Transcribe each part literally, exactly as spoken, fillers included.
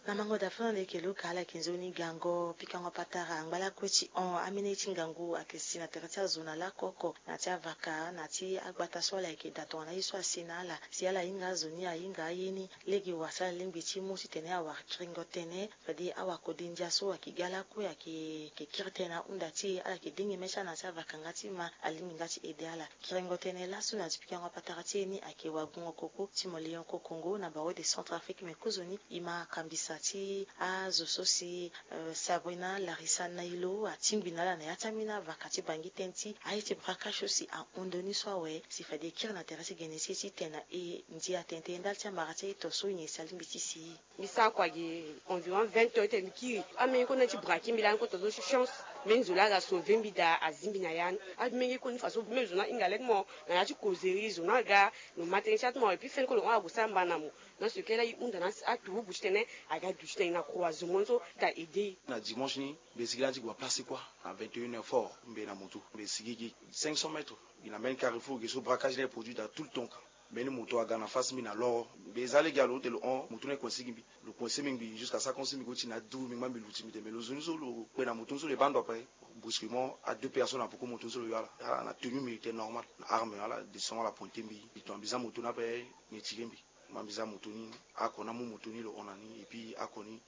Na mango da fana na yeke luka ala yeke nzoni gango pikango patara angba lakue ti hon amene ti ngangu ayeke si na tere ti azo na lakoko na ti avaka na ti agbata so ala yeke da tongana ye so asi na ala si ala hinga azo ni ahinga aye ni. Lege wara si ala lingbi ti mu titene awara kiringo tënë fade awakode ndia so ayeke ga lakue ayeke kiri tënë na hunda ti e ala yeke dingi mê ti ala na ti avaka nga ti ma alingbi nga ti ede ala. Kiringo tënë laso na ti pikango patara ti e ni ayeke wagungo koko ti mo lion kokongo na bawe de centre afrique me kozoni e ma kambisa ti azo so si sabrina larisa nailo atingbi na ala na ya ti ambeni avaka ti bangi tënë ti aye ti braquage so si ahon ndoni so awe si fade e kiri na tere ti gene ti e ti tene na e ndia tene tene ndali ti amara ti aye to so nyen si alingbi ti si e. Mbi sara kua gi environ vingt heures ti tene mbi kiri. Ameni kota ti braquer mbi lani kota zo chance. Mbeni zo laa aga sauver mbi daa azi mbi na ya ni. Ameni kota ni façon même zo ni ahinga lege ti mo na ya ti causerie zo ni aga. Lo ma tënë ti atu mo et puis feni kota lo hon ague sara mba na mo. Na so kela e hunda na aturugu ti tene aga du ti tene na croisement so ta aider e. Na dimanche ni mbi sigi lani ti gue na place ti kua na vingt et un heures fort mbi na moto mbi sigi gi cinq cents mètres. Mbi na mbeni carrefour ge so braquage ni aye produit daa tout le temps ka. Mbeni moto aga na face mbi na loro mbi za lege alo ute lo hon moto ni aye coince gi mbi. Lo coince mbi ngbi jusqu'à sa comme si mbi go ti na du mbi ngba mbi luti mbi te mais lo zo ni so lo kpe na moto ni so lo ye baa ndo ape. Brusquement a deux personnes na poko moto ni so lo yo ala ala na tenue militaire normal na arme ala descend ala pointe mbi. Mbi tongana mbi za moto ni ape. Mbi tire mbi ma mbi za moto ni. Ako ni amu moto ni lo hon na ni et puis ako ni.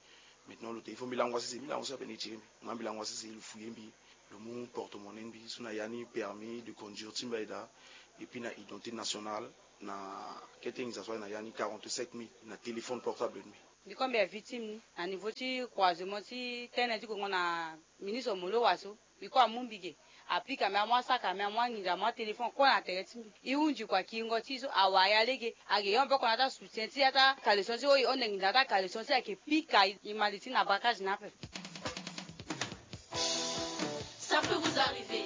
Maintenant lo te il faut mbi lango asese mbi lango asese ape ni tire mbi ma mbi lango asese lo fouye mbi. Lo mu porte monnaie mbi so na ya ni permis de conduire ti mbi aye daa. Et puis na identité nationale na kete nginza so aye na ya ni quarante-sept mille na téléphone portable ni. Mbi ko mbi ya victime ni na niveau ti croisement ti tene ti gongo na ministre molowa so. Mbi ko amu mbi ge apika mbi amu asaka mbi amu anginza amu atéléphone ko na tere ti mbi. E hunzi kua kiringo ti e so awara ya lege. Age yo mpe oko na ata soutien ti ata caleçon ti e oyo e honde nginza na ata caleçon ti e ayeke pika e mali ti na braquage ni ape. Ça peut vous arriver.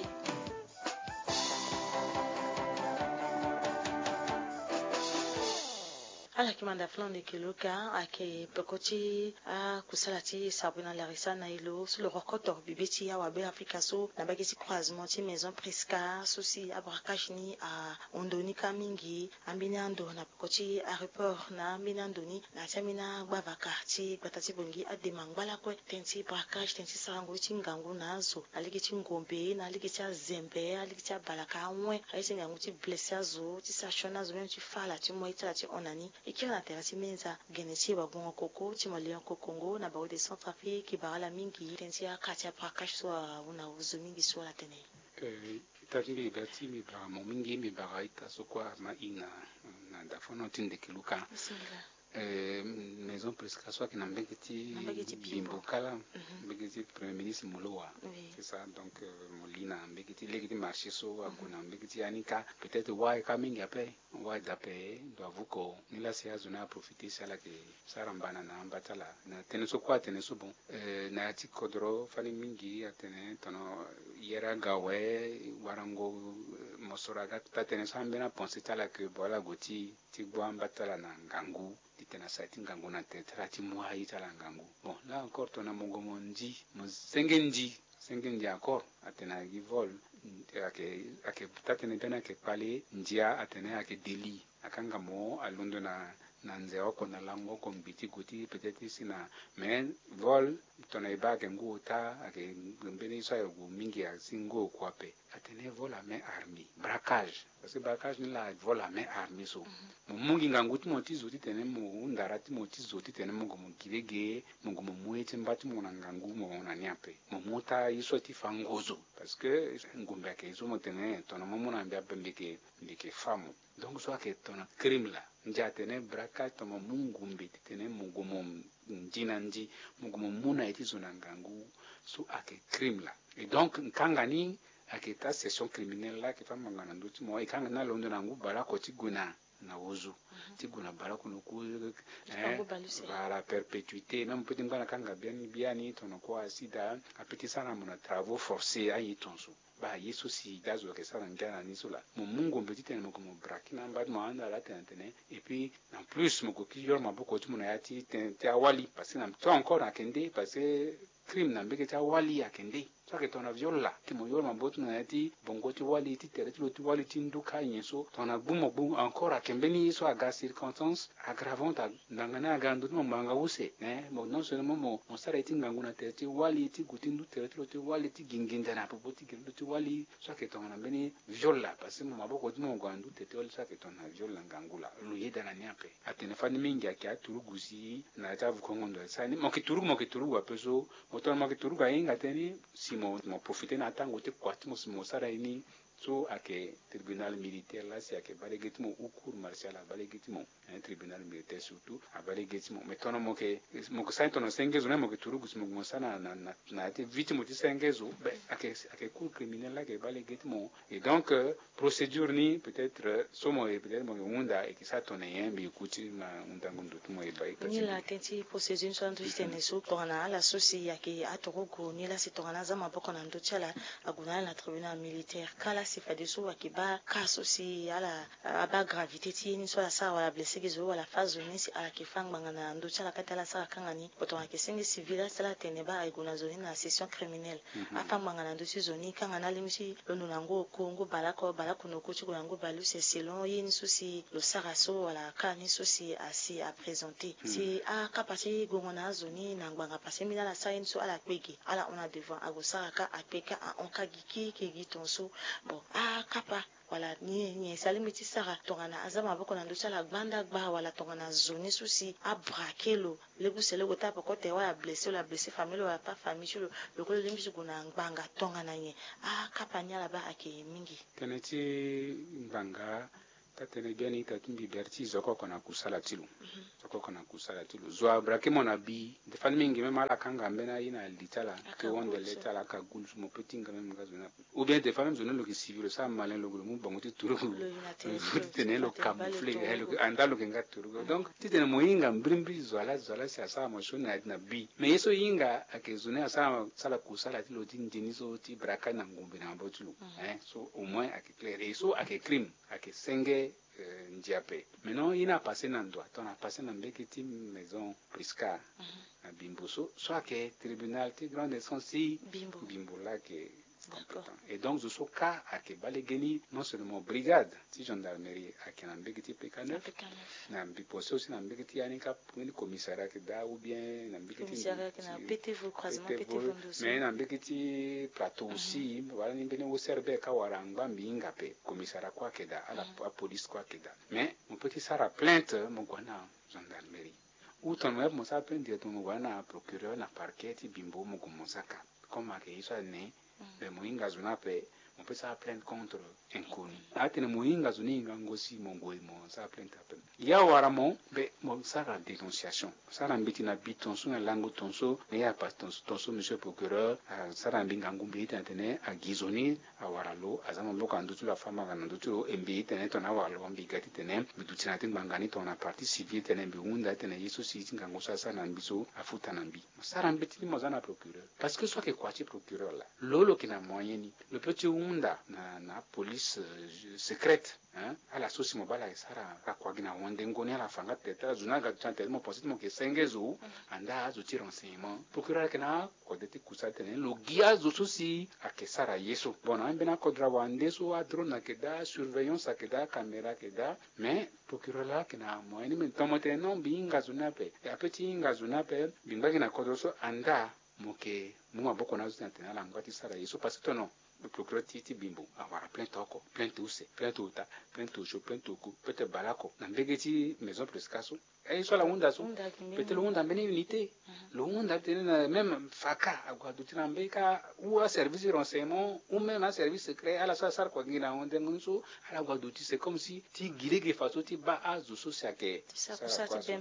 Ala yeke manda flan ndeke lo ka ayeke peko ti akusala ti sabrina larisa na e lo so lo rokoto bibe ti awabe afrika so na mbage ti croisement ti maison prisca so si abraquage ni ahon ndo ni ka mingi. Ambeni ando na peko ti aéroport na ambeni ando ni na ya ti ambeni agbavaka ti gbata ti bongi adema ngba lakue tënë ti braquage tënë ti sara ngoi ti ngangu na azo na lege ti ngombe na lege ti azembe na lege ti abalaka awen aye ti ngangu ti blesse azo ti sara sioni azo même ti fa ala ti moi ti ala ti hon na ni. E kiri na tere ti menza gene ti e wagongo koko ti mo lion kokongo na bawe de centre afrique e bara ala mingi tënë ti aka ti abraquage so ahon na ozo mingi so ala tene. Ita ti mbi ga ti mbi bara mo mingi mbi bara ita so kue ama i na na dafono ti ndeke luka. Maison presca so ayeke na mbege ti bimbo kala mbege ti premier ministre molowa. C'est ça donc mo li na mbege ti lege ti marché so ague na mbege ti ya ni ka peut-être wai ka mingi ape. Wai dape ndo avuko ni lasi azo ni aprofite si ala yeke sara mbana na amba ti ala na tënë so kue atene so bon. Na ya ti kodro fani mingi atene tono yere aga awe warango mosoro aga taa tënë so ambeni apense ti ala yeke bo ala gue ti ti gbu amba ti ala na ngangu titene asara ti ngangu na tere ti ala ti mu aye ti ala ngangu. Bon là encore tongana mo gue mo ndi mo senge ndi senge ndi encore atene ayeke gi vol ayeke taa tënë biani ayeke kpale ndia atene ayeke deli akanga mo alondo na na nze oko na lango oko ngbi ti gue ti peut-être ti si na mais vol tongana e baa ayeke ngu ota ayeke mbeni ye so ayeke gue mingi asi ngu oko ape. Atene vol à main armée braquage parce que braquage ni laa vol à main armée so. Mo mu ngingangu ti mo ti zo titene mo hunda ra ti mo ti zo titene mo gue mo gi lege mo gue mo mu ye ti mba ti mo na ngangu mo hon na ni ape. Mo mu ota ye so ti fa ngozo parce que ngumbe ayeke ye so mo tene tongana mo mu na mbi ape mbi yeke mbi yeke fa mo. Donc so ayeke tongana crime laa ndia atene braquage tongana mo mu ngumbe titene mo gue mo ndi na ndi mo gue mo mu na ye ti zo na ngangu so ayeke crime laa. Et donc nkanga ni ayeke taa session criminelle laa ayeke taa ngbanga na ndö ti mo e kanga ni alondo na ngu baleoko ti gue na na ozo ti gue na baleoko na oku. Voilà perpétuité même peut ti ngba na kanga biani biani tongana kue asida ape ti sara na mo na travaux forcés aye tonso. Baa ye so si da zo ayeke sara ngia na ni so laa mo mu ngombe titene mo gue mo braki na amba ti mo ahanda ala tene atene et puis en plus mo gue ki yoro maboko ti mo na ya ti tene ti awali parce que na temps encore na kende parce que crime na mbege ti awali ayeke nde. So ayeke tongana viol laa ti mo yoro maboko ti mo na ya ti bongo ti wali ti tere ti lo ti wali ti ndu ka nyen so tongana gbu mo gbu encore ayeke mbeni ye so aga circonstance aggravante. Ngbanga ni aga na ndö ti mo ngbanga use. Mo non seulement mo sara ye ti ngangu na tere ti wali ti gue ti ndu tere ti lo ti wali ti gi nginza na popo ti gi lo ti wali so ayeke tongana mbeni viol laa parce que mo maboko ti mo gue na ndu tere ti wali so ayeke tongana viol na ngangu laa lo yeda na ni ape. Atene fani mingi ayeke aturugu si na ya ti avukongo ndo asara ni mo yeke turugu mo yeke turugu ape so mo tongana mo yeke turugu ahinga tënë ni si mo mo profite na atango ti kua ti mo si mo sara ye ni. So ayeke tribunal militaire laa si ayeke baa lege ti mo ou cour martial abaa lege ti mo. Tribunal militaire surtout abaa lege ti mo mais tongana mo yeke mo yeke sara ni tongana senge zo ni mo yeke turugu si mo yeke mo sara na na na ya ti vie ti mo ti senge zo be ayeke ayeke cour criminel laa ayeke baa lege ti mo. Et donc procédure ni peut-être so mo ye peut-être mo ye hunda e ke sara tongana nyen mbi ye ku ti ma hundango ndo ti mo ye ba ye ka ti mbi. Ni la tënë ti procédure ni so andu ti tene so tongana ala so si ayeke aturugu ni la si tongana aza maboko na ndö ti ala ague na ala na tribunal militaire ka la si fadeso ayeke baa ka so si ala abaa gravité ti ye ni so ala sara wala blessé gi zo wala fâ zo ni si ala yeke fâ ngbanga na ndö ti ala kâ ti ala sara kanga ni. Tongana ayeke senge civil la si ala tene baa aye gue na zo ni na session criminelle. Afâ ngbanga na ndö ti zo ni kanga na alingbi ti londo na ngu oko ngu baleoko baleoko na oko ti gue na ngu baleuse selon ye ni so si lo sara so wala ka ni so si asi aprésenté si akapa ti gongo na azo ni na ngbanga parce que mbeni ala sara ye ni so ala kpe ge ala hon na devant ague sara ka akpe ka ahon ka gi keke gi tongaso. Bon akapa wala nyen si alingbi ti sara tongana aza maboko na ndö ti ala gbanda gba wala tongana zo ni so si abrake lo lege use lege ota poko tere wala blessé wala blessé famille lo wala pas famille ti lo. Lo kue lo lingbi ti gue na ngbanga tongana nyen? Akapa ni ala baa ayeke mingi. Tënë ti ngbanga taa tënë biani ita ti mbi bere ti zo oko oko na kusala ti lo. Zo oko oko na kusala ti lo zo abrake mo na bi nde fani mingi même ala kanga mbeni aye na li ti ala ti wondele ti ala aka gulu so mo pe ti hinga même nga zo ni ape. Ou bien des fois même zo ni lo yeke civil lo sara malin lo gue lo mu bango ti turugu ti tene lo camoufler. Anda lo yeke nga turugu donc ti tene mo hinga mbirimbiri zo ala zo ala si asara mo sioni na ya ti na bi mais ye so hinga ayeke zo ni asara sala kusala ti lo ti nzeni so ti braka na ngombe na maboko ti lo. So au moins ayeke claire ye so ayeke crime ayeke senge. Ndia ape. Maintenant ye ni apasse na ndo ato na apasse na mbege ti maison priscar na bimbo so so ayeke tribunal ti grande instance ti bimbo laa ayeke compétent. Et donc zo so ka ayeke baa lege ni non seulement brigade ti gendarmerie ayeke na mbege ti pk neuf na mbi pense aussi na mbege ti ya ni ka mbeni commissariat ayeke daa ou bien na mbege ti ptv mais na mbege ti plateau aussi wala ni mbeni ocrb ka wara angba mbi hinga ape commissariat kue ayeke daa ala apolice kue ayeke daa. Mais mo pe ti sara plainte mo gue na gendarmerie ou tongana mo ya pe mo sara plainte directement mo gue na procureur na parquet ti bimbo mo gue mo saka comme ayeke ye so ane. Mais mo hinga zo ni ape mo pe sara plainte contre inconnu. Atene mo hinga zo ni hingango si mo gue mo sara plainte ape. Ya wara mo be mo sara dénonciation sara mbeti na bi tonso na lango tonso na ya passe tonso tonso monsieur procureur asara na mbi ngangu mbi itene atene agi zo ni awara lo aza maboko na ndö ti lo afâ mbanga na ndö ti lo e mbi itene tongana awara lo mbi ga titene mbi duti na ya ti ngbanga ni tongana partie civile titene mbi hunda titene ye so si ti ngangu so asara na mbi so afuta na mbi. Mo sara mbeti ni mo za na procureur parce que so ayeke kua ti procureur laa lo lo yeke na moyen ni lo pe ti hunda na na apolice secrète. Ala so si mo baa ala yeke sara ala kua gi na wendengo ni ala fa nga tere ti ala zo ni aga duti na tere ti mo pense ti mo yeke senge zo andaa azo ti renseignement procureur ayeke na akode ti kusa titene lo gi azo so si ayeke sara ye so. Bon na ambeni akodro awande so adrone ayeke daa surveillance ayeke daa acaméra ayeke daa. Mais procureur laa ayeke na moyen ni me tongo mo tene non mbi hinga zo ni ape. Ape ti hinga zo ni ape mbi ngba gi na kodro so andaa mo yeke mu maboko na azo ti na tene ala ngba ti sara ye so parce que tono procureur ti ti bimbo awara plainte oko plainte use plainte ota plainte osio plainte oku plainte baleoko na mbege ti maison presca so. Aye so ala hunda so peut-être lo hunda mbeni unité lo hunda tene na même faka ague aduti na mbeni ka ou aservice ti renseignement ou même aservice secret ala so asara kua gi na wendengo ni so ala gue aduti c'est comme si ti gi lege façon ti baa azo so si ayeke ti sara kua so.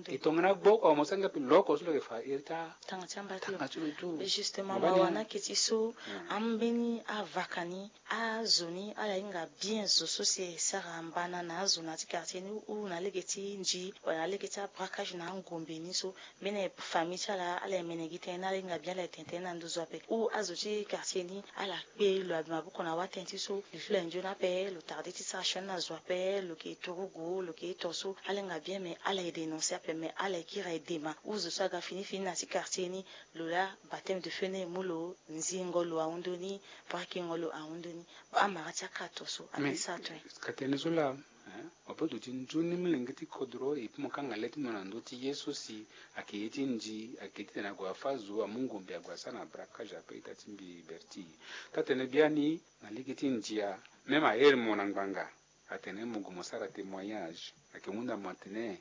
E tongana gbo oko mo sara nga mpe lo oko so lo yeke fa iri ti atanga ti amba ti lo tu. Justement mawa ni ayeke ti so ambeni avaka ni azo ni ala hinga bien zo so si e sara mbana na azo na ya ti quartier ni ou na lege ti nzi wala na Ke ti abraquage na angombe ni so, mbeni famille ti ala ala emene gi tënë na ala hinga bien ala etene tënë na nduzu ape. Ou azo ti quartier ni ala kpe lo abi maboko na watënë ti so li fila nzoni ape lo tarde ti sara sioni na zo ape lo ke turugu lo ke ito so ala hinga bien mais ala edénoncer ape mais ala ekiri aye dema ou zo so aga fini fini na ti quartier ni. Lo laa bateme de feu ni emu lo nzingo lo ahundu ni. Brakingo lo ahundu ni. Amara ti akato so ape sa to. Ka tene so laa. Mo pe duti nzoni molenge ti kodro epi mo kanga le ti mo na ndö ti ye so si ayeke ye ti nzi ayeke titene ague afa zo amu ngombe ague asara na braquage ape ita ti mbi berti. Taa-tene biani na lege ti ndia même ahere mo na ngbanga atene mo gue mo sara témoignage ayeke hunda mo atene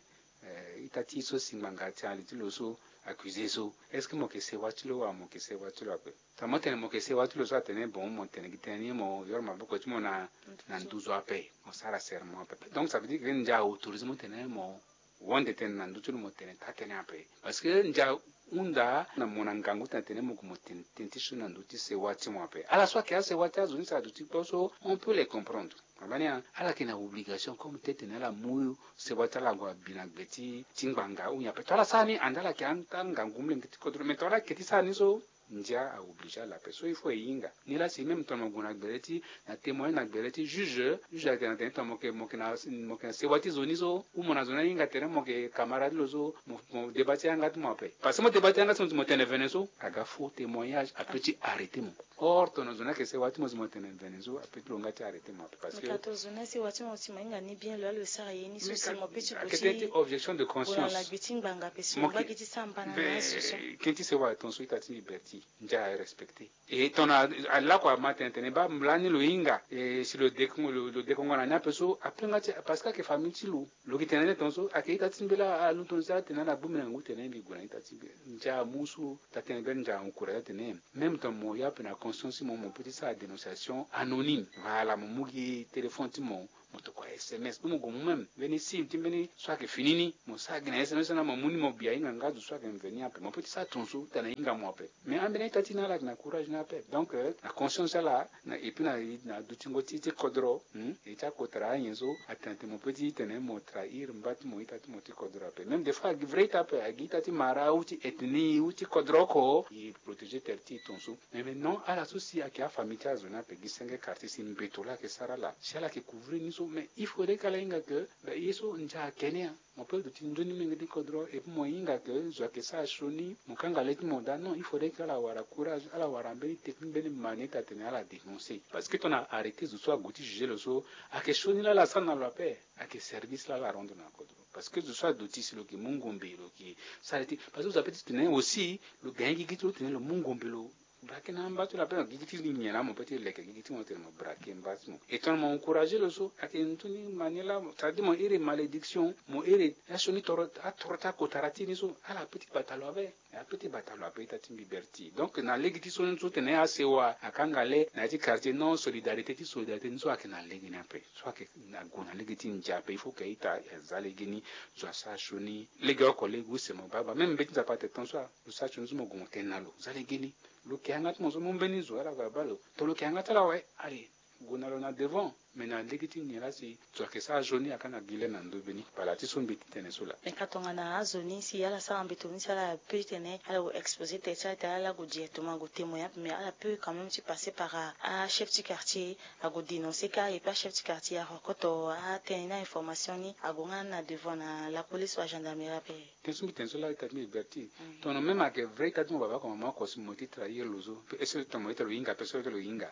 ita ti e so si ngbanga ti ali ti lo so accusé so est-ce que mo yeke sewa ti lo wala mo yeke sewa ti lo ape? Tongana mo tene mo yeke sewa ti lo so atene bon mo tene gi tënë ni mo yoro maboko ti mo na nduzu ape mo sara serment ape. Donc ça veut dire que ndia autorisé mo tene mo wande tene na ndö ti lo mo tene taa-tënë ape. Parce que ndia ahunda na mo na ngangu ti na tene mo gue mo tene tënë ti sioni na ndö ti sewa ti mo ape ala so ayeke asewa ti azo ni si aduti kpo so on peut les comprendre. Abani ala yeke na obligation comme ti tene ala mu sewa ti ala ague abi na gbe ti ngbanga ou nyen ape to ala sara ni ande ala yeke ata ngangu molenge ti kodro mais to ala yeke ti sara ni so. Ndia aoblige ala ape so il faut e hinga ni laa si même tongana mo gue na gbere ti na témoin na gbere ti juge juge ayeke na tene tongana mo yeke mo yeke na mo yeke na sewa ti zo ni so ou mo na zo ni ahinga tene mo yeke camarade ti lo so mo mo débat ti yanga ti mo ape parce que mo débat ti yanga ti mo si mo tene vene so aga faux témoignage ape ti arrêter mo. Or tongana zo ni ayeke sewa ti mo si mo tene vene so ape ti lo nga ti arrêter mo ape parce que. Ka tongana zo ni asewa ti mo si mo hinga ni bien lo laa lo sara ye ni so si mo pe ti gue ti objection de conscience. Gue na lagbi ti ngbanga ape si mo ngba gi ti sara mbana na azo so. Tënë ti sewa ton so ita ti mbi berti ndia arespecter. E tongana alako ama tene tene baa lani lo hinga e si lo dekongo lo dekongo na ni ape so ape nga ti parce que ayeke famille ti lo. Lo gi tene ni ton so ayeke ita ti mbi laa anu ton so atene ala gbu mbi na ngu tene mbi gue na ita ti mbi. Ndia amu so taa-tënë be ndia encourage atene même tongana mo ya ape na conscience ti mo mo pe ti sara dénonciation anonyme wala mo mu gi téléphone ti mo mo tokua sms ou mo gue mu même mbeni sim ti mbeni so ayeke fini ni mo sara gi na sms so na mo mu ni mo bi ahinga nga zo so ayeke mveni ape mo pe ti sara ton so tene ahinga mo ape. Mais ambeni ita ti na ala yeke na courage ni ape donc na conscience ti ala na et puis na na dutingo ti ti kodro. E ti akotara anyen so atene tene mo pe ti tene mo trahir mba ti mo ita ti mo ti kodro ape même des fois agi vrai ita ape agi ita ti mara ou ti ethnie ou ti kodro oko e protéger tere ti e ton so. Mais maintenant ala so si ayeke afamille ti azo ni ape gi senge quartier si mbeto laa ayeke sara ala si ala yeke couvrir ni so mais il faudrait ke ala hinga ke ye so ndia ayeke ni. Mo pe duti nzoni menge ti kodro et puis mo hinga ke zo ayeke sara sioni mo kanga le ti mo daa non il faudrait ke ala wara courage ala wara mbeni technique mbeni manière ti atene ala dénoncer parce que tongana arrêter zo so ague ti juger lo so ayeke sioni laa ala sara na lo ape. Ayeke service laa ala rendre na kodro parce que zo so aduti si lo yeke mu ngombe lo yeke sara ti parce que zo ape ti tene aussi lo gagner gigi ti lo tene lo mu ngombe lo. Braquer na mba ti lo ape na gigi ti nyen laa mo pe ti leke gigi ti mo tene mo braquer mba ti mo et tongana mo encourager lo so ayeke nzoni manière laa c'est à dire mo iri malédiction mo iri asioni toro atoro ti akotara ti ni so ala pe ti bata lo ape. Ape ti bata lo ape ita ti mbi berti donc na lege ti so ni so tene asewa akanga le na ya ti quartier non solidarité ti solidarité ni so ayeke na lege ni ape so ayeke ague na lege ti ndia ape il faut ke ita aza lege ni zo asara sioni. Lege oko lege use mo baa baa même mbeti nzapa atene ton so lo sara sioni so mo gue mo tene na lo za lege ni. Lo ke yanga ti mo so mu mbeni zo ala gue abaa lo to lo ke yanga ti ala awe. Aye. Gue na lo na devant. Mais na lege ti nyen laa si zo ayeke sara sioni akanga gi le na ndo mbeni pala ti so mbi ti tene so laa. Mais ka tongana azo ni si ala sara mbeto ni si ala pu ti tene ala gue exposer tere ti ala tere ala gue directement ague témoigner ape mais ala pu quand même ti passer par achef ti quartier. Ague dénoncer kâ et puis achef ti quartier arokoto atene ni a information ni ague nga na devant na la police wala gendarmerie ape. Tënë so mbi tene so laa ita ti mbi berti. Tongana même ayeke vrai ita ti mo baba oko mama oko si mo ti trahir lo so pe est ce que tongana mo ita lo hinga pe so ita lo hinga.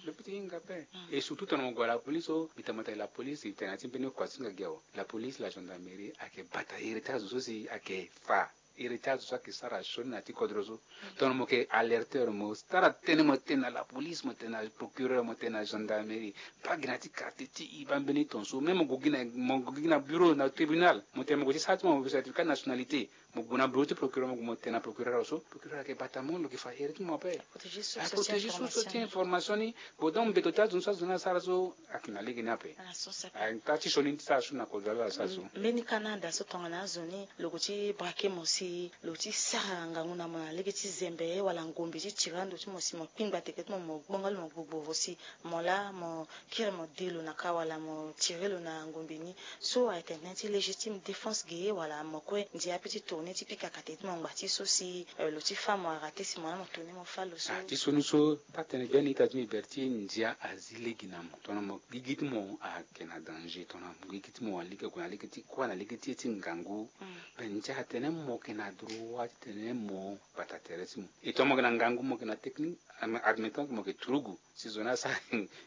Lo pe ti hinga pe. Et surtout tongana mo gue na la police so mbi tene mo tene la police mbi tene na ti mbeni kua ti nga gi awe. La police la gendarmerie ayeke bata iri ti azo so si ayeke fa iri ti azo so ayeke sara sioni na ya ti kodro so. Tongana mo yeke alerteur mo sara tënë mo tene na la police mo tene na procureur mo tene na gendarmerie. Mba gi na ya ti quartier ti e baa mbeni ton so même mo gue gi na mo gue gi na bureau na tribunal mo tene mo gue ti sara ti mo certificat nationalité. Mo gue na bureau ti procureur, mo gue mo tene na procureur awe so, procureur ayeke bata mo, lo yeke fa here ti mo ape. Protéger source ti information ni. Bon, donc mbeto ti azo ni so azo ni asara so ayeke na lege ni ape. Ala so saka. Ata ti sioni ti sara so na kodro ala sara so. Mbeni Canada so tongana azo ni lo gue ti braquer mo si lo ti sara ngangu na mo na lege ti zembe wala ngombe ti tiri ando ti mo si mo kpingba teke ti mo, mo gbonga lo, mo gbogbo si mo laa mo kiri mo de lo na ka wala mo tiri lo na ngombe ni. So ayeke tene ti légitime défense ge wala mo kue ndia ape ti tourner ti pika kate ti mo ngba ti so si, euh, lo ti fa mo arate si mo laa mo tourner mo fa lo so. Ah, ti so ni so, ta tene biani ita ti mbi Berthier, ndia azi lege na mo. Tongana mo gigi ti mo ayeke na danger, tongana mo gigi ti mo alege, ague na lege ti kuâ na lege ti ye ti ngangu. Mm. Be ndia atene mo yeke na droit ti tene mo bata tere ti mo. E tongana mo yeke na ngangu, mo yeke na technique, admettant que mo yeke turugu. Si zo ni asara,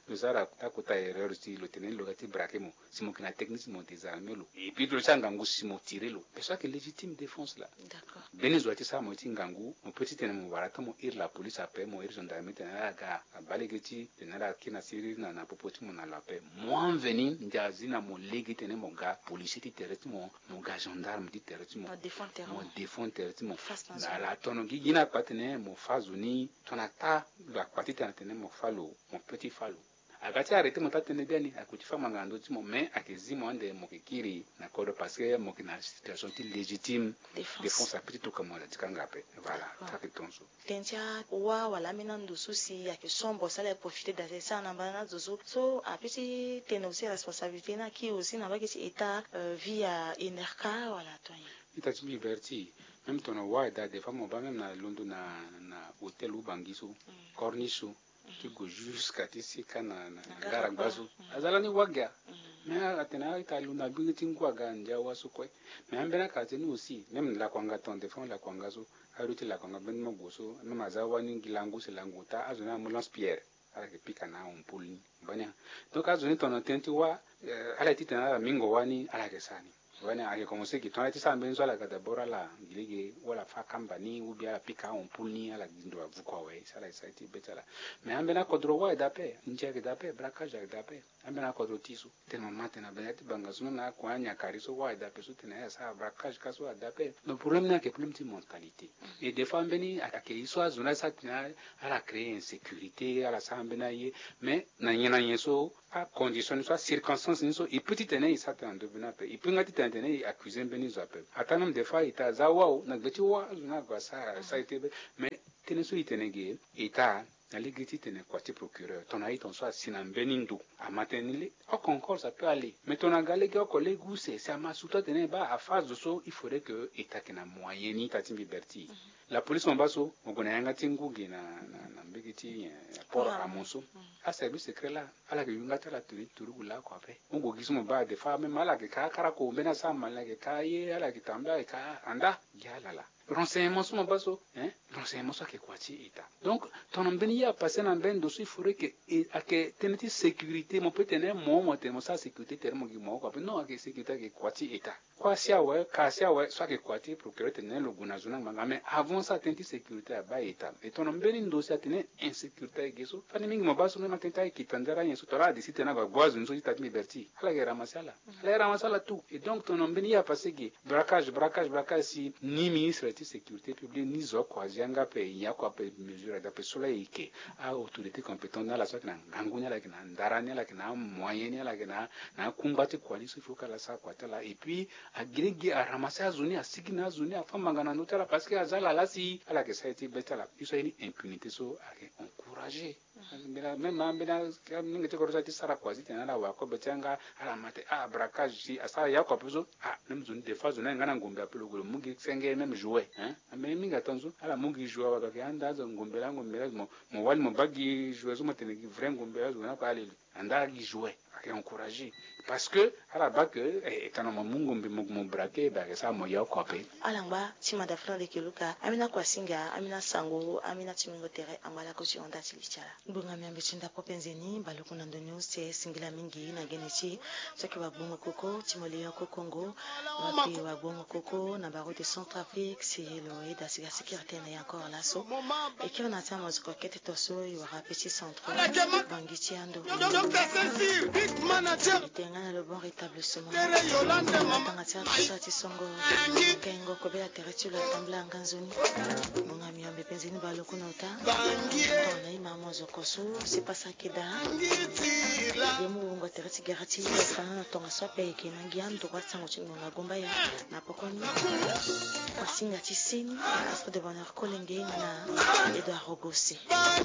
lo sara ta kota erreur si lo tene ni lo ga ti braquer mo, si mo yeke na technique si mo désarmer lo. Et puis lo ti angangu si mo tirer lo. Parce que ayeke légitime défense laa. D'accord. Mbeni zo ati sara mo ye ti ngangu, mo peut ti tene mo wara ti mo iri la police ape, mo iri gendarmerie tene ala ga abaa lege ti tene ala kiri na siriri na, na popo ti mo na lo ape. Mo anveni ndia azi na mo lege tene mo ga policier ti tere ti mo, mo ga gendarme ti tere ti mo. Mo défendre tere ti mo. Mo défendre tere ti mo. Face na zo. Ala tono gigi ni akpa tene mo fa zo ni, tongana ta lo akpa ti tene atene mo fa lo, mo peut ti fa lo. Aga ti arrêter mo ta tene biani, ague ti fa ngbanga na ndö ti mo, mais ayeke zi mo ande mo yeke kiri na kodro parce que mo yeke na situation ti légitime défense. Défense ape ti tokua mo na dikanga ape. Voilà. D'accord. Ti ayeke tongaso. Tënë ti awâ wala ambeni ando so si ayeke sombre si ala profiter da sara na mbana na azo so, so apeut ti tene aussi responsabilité ni aki aussi na mbage ti état, euh, via Enerca wala to nyen? Ita ti mbi Berthier, même tongana wâ e daa, des fois mo baa même na londo na, na hôtel Ubangi so, mm, Corniche so, ti gue jusqu'à ti sika na, na, na gara gba so. Mm. Aza lani wâ gi a. Mm. Mais atene a-ita lo na gbingi ti ngu aga ndia wâ so kue. Mais ambeni akartie ni aussi, même lakuanga ton, des fois lakuanga so, ayo ti lakuanga mbeni mo gue so, même aza wani gi langu si langu ota, azo ni amu lance-pierre. Ala yeke pika na ampoule ni. Bani a. Donc azo ni tongana tënë ti wâ, eh, ala ye ti tene ala mingo wani, ala yeke sara ni. Wani ayeke commencer gi tongana ti sara mbeni so ala ga d'abord ala gi lege ou ala fâ kamba ni ou bien ala pika ampoule ni ala gi ndo avuku awe si ala ye sara ye ti be ti ala. Mais ambeni akodro wâ ayeke daa ape, ndia ayeke daa ape, braquage ayeke daa ape. Ambeni akodro ti so tene mo ma tene na benda ti banga so na akua anyakari so wâ ayeke daa ape so tene ala sara braquage ka so ayeke daa ape. Donc problème ni ayeke problème ti mentalité. Et des fois mbeni ayeke ye so azo ni asara tene ala créer insécurité, ala sara mbeni aye. Mais na nyen na nyen so acondition ni so, acirconstance ni so, e peut ti tene e sara tënë na ndö be ni ape, e peut nga ti tene tene e accuser mbeni zo ape. Ata même des fois e ta aza wâ o, na gbe ti wâ azo ni ague asara, asara ye ti be. Mais tënë so e tene ge, e ta na lege ti tene kua ti procureur, tongana e tongaso asi na mbeni ndo, ama tene ni le oko encore ça peut aller. Mais tongana aga lege oko lege use, si ama surtout atene baa afa zo so, il faudrait que e ta yeke na moyen ni, ita ti mbi Berthier. La police mo baa so, mo gue na yanga ti ngu ge na, na, na mbage ti, eh, port Amon so. Aservice secret laa, ala yeke yu nga ti ala tene ti turugu laoko ape. Mo gue gi so mo baa des fois même ala yeke ka akarako, mbeni asara malin ayeke ka ye, ala yeke tambela ayeke ka anda gi ala laa. Renseignement so mo baa so, hein, renseignement so ayeke kua ti état. Donc tongana mbeni ye apasser na mbeni ndo so, il faudrait que e, ayeke tënë ti sécurité, mo peut tene mo, mo tene mo sara sécurité tere mo gi mo oko ape. Non, ayeke sécurité ayeke kua ti état. Kua si awe, ka si awe, so ayeke kua ti procureur tene lo gue na zo ni angba nga. Mais avant so atënë ti sécurité abaa état. E tongana mbeni ndo si atene insécurité ayeke ge so, fani mingi mo baa so même atënë ti ayeke tandara nyen so, tongana ala décide tene ague agbu azo ni so ti ita ti mbi Berthier, ala yeke ramasser ala. Ala yeke ramasser ala tout. Et donc tongana mbeni ye apasser ge, braquage, braquage, braquage, si ni ministre ti sécurité publique ni zo oko azi yanga ape, e nyen oko ape mesure ade ape so laa e yeke. A-autorité compétente ni ala so ayeke na ngangu ni, ala yeke na ndara ni, ala yeke na amoyen ni, ala yeke na, na akungba ti kua ni so, il faut que ala sara kua ti ala. Et puis agirigi aramasser azo ni, asigi na azo ni, afâ manga na ndö ti ala, parce que aza ala laa si ala yeke sara ye ti be ti ala. Ye so aye ni impunité so ayeke encourager. Ambeni, même ambeni, mingi ti kodro so aye ti sara kua ti tene ala wara kobe ti yanga, ala ma tene ah braquage, si asara ye oko ape so. Ah même zo ni des fois zo ni ayeke nga na ngombe ape, lo gue lo mu gi senge même jouet, hein. Ambeni mingi atongaso ala mu gi jouet awe, ayeke anda azo ngombe laa, ngombe laa, mo, mo wali mo baa gi jouet so mo tene gi vrai ngombe laa, zo ni oko aleli. Anda gi jouet, ayeke encourager. Parce que ala baa que, eh, tongana mo mu ngombe mo, mo braquer, be ayeke sara mo ye oko ape. Ala ngba ti mada fana leke luka, ambeni akuasinga, ambeni asango, ambeni ati mingo tere, angba lakue ti honda ti li ti ala. Ngbonga miambe ti ndapro penze ni, baleoko na ndo ni use, singila mingi na gene ti so ayeke wagbongo koko ti mo li oko kongo, wapi wagbongo koko na baroute Centrafrique, si lo yeda si ga si kiri tënë na ye encore laso. E kiri na ti amozoko kete to so e wara ape ti centre, bangi ti ando. Na le bon rétablissement. Tanga ti atusa ti songo. Kengo kobela tere ti lo atambula anga nzoni. Nunga miombe penzi ni balo kuna ota. Tona ima mozo kosu si pasa keda. Ye mu wungo tere ti gara ti fana na tonga so ape eke na ngia nduru asango ti ngonga gomba ya na pokoni. Asinga ti seni. Astro de bonheur kolenge na Edouard Rogose.